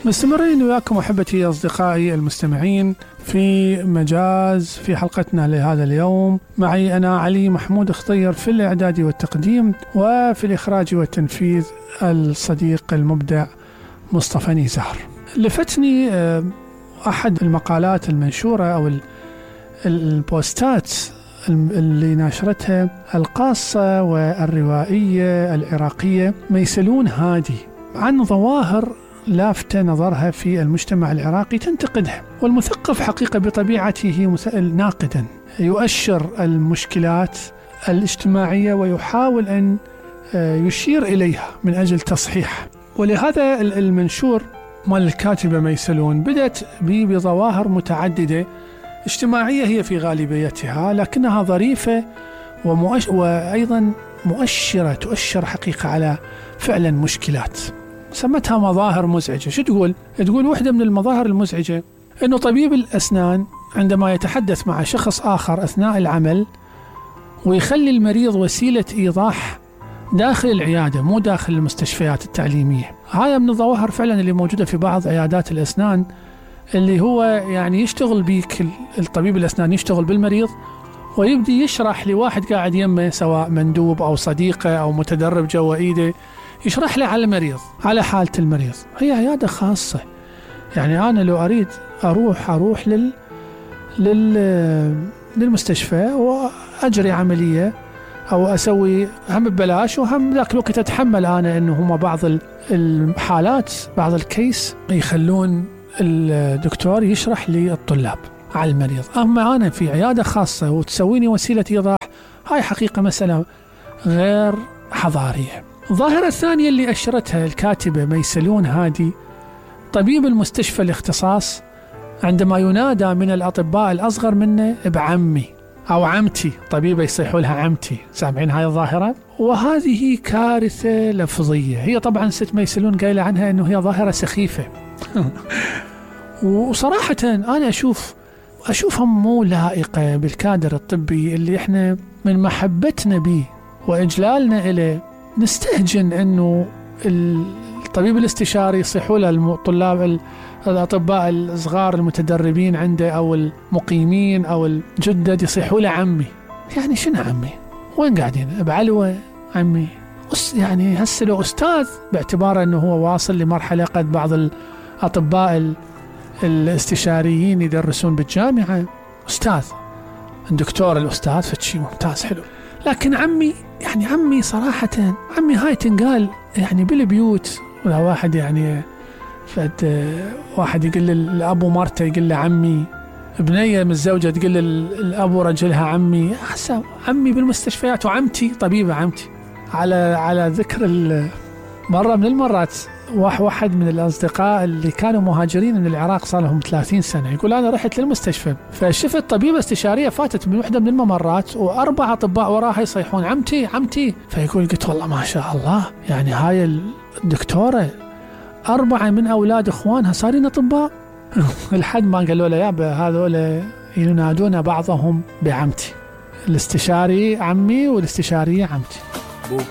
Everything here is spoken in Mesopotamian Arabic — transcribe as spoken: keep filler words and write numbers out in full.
مستمرين وياكم أحبتي أصدقائي المستمعين في مجاز في حلقتنا لهذا اليوم. معي أنا علي محمود خطير في الإعداد والتقديم، وفي الإخراج والتنفيذ الصديق المبدع مصطفى نيزار. لفتني أحد المقالات المنشورة أو البوستات اللي ناشرتها القاصة والروائية العراقية ميسلون هادي عن ظواهر لافتة نظرها في المجتمع العراقي تنتقدها. والمثقف حقيقة بطبيعته ناقدا، يؤشر المشكلات الاجتماعية ويحاول أن يشير إليها من أجل تصحيح. ولهذا المنشور مال الكاتبة ميسلون بدأت بظواهر متعددة اجتماعية هي في غالبيتها، لكنها ظريفة ومؤش... وأيضا مؤشرة تؤشر حقيقة على فعلا مشكلات. سمتها مظاهر مزعجة. شو تقول؟ تقول واحدة من المظاهر المزعجة أنه طبيب الأسنان عندما يتحدث مع شخص آخر أثناء العمل ويخلي المريض وسيلة إيضاح داخل العيادة مو داخل المستشفيات التعليمية. هذا من الظواهر فعلا اللي موجودة في بعض عيادات الأسنان، اللي هو يعني يشتغل بيك الطبيب الأسنان يشتغل بالمريض ويبدي يشرح لواحد قاعد يمه سواء مندوب أو صديقه أو متدرب جوا إيده، يشرح له على المريض على حالة المريض. هي عيادة خاصة، يعني أنا لو أريد أروح أروح لل لل للمستشفى وأجري عملية أو أسوي هم ببلاش، وهم ذاك الوقت أتحمل أنا إنه هما بعض الحالات بعض الكيس يخلون الدكتور يشرح للطلاب على المريض. أما أنا في عيادة خاصة وتسويني وسيلة إيضاح، هاي حقيقة مسألة غير حضارية. الظاهرة الثانية اللي أشرتها الكاتبة ميسلون هادي طبيب المستشفى الاختصاص عندما ينادى من الأطباء الأصغر منه بعمي أو عمتي، طبيبة يصيحوا لها عمتي. سامعين هاي الظاهرة؟ وهذه كارثة لفظية. هي طبعا ست ميسلون قايلة عنها أنه هي ظاهرة سخيفة وصراحة أنا أشوف أشوفها مو لائقة بالكادر الطبي اللي إحنا من محبتنا به وإجلالنا إليه نستهجن أنه الطبيب الاستشاري يصيحوا له الطلاب الأطباء الصغار المتدربين عنده أو المقيمين أو الجدد يصيحوا له عمي. يعني شنو عمي؟ وين قاعدين؟ بعلوة عمي؟ يعني هسه لو أستاذ باعتباره أنه هو واصل لمرحلة قد بعض الأطباء الاستشاريين يدرسون بالجامعة أستاذ، الدكتور الأستاذ فشي ممتاز حلو. لكن عمي، يعني عمي صراحة عمي هاي تنقال يعني بالبيوت، ولا واحد يعني فد واحد يقول الأبو مرته يقول له عمي، ابنية متزوجة تقول الأبو رجلها عمي. أحسن عمي بالمستشفيات وعمتي طبيبة عمتي. على على ذكر مرة من المرات واحد من الأصدقاء اللي كانوا مهاجرين من العراق صار لهم ثلاثين سنة يقول أنا رحت للمستشفى فشفت طبيبة استشارية فاتت من واحدة من الممرات وأربع أطباء وراها يصيحون عمتي عمتي. فيقول قلت والله ما شاء الله، يعني هاي الدكتورة أربعة من أولاد إخوانها صارين أطباء. لحد ما قالوا له يابا هذول ينادون بعضهم بعمتي، الاستشاري عمي والاستشارية عمتي.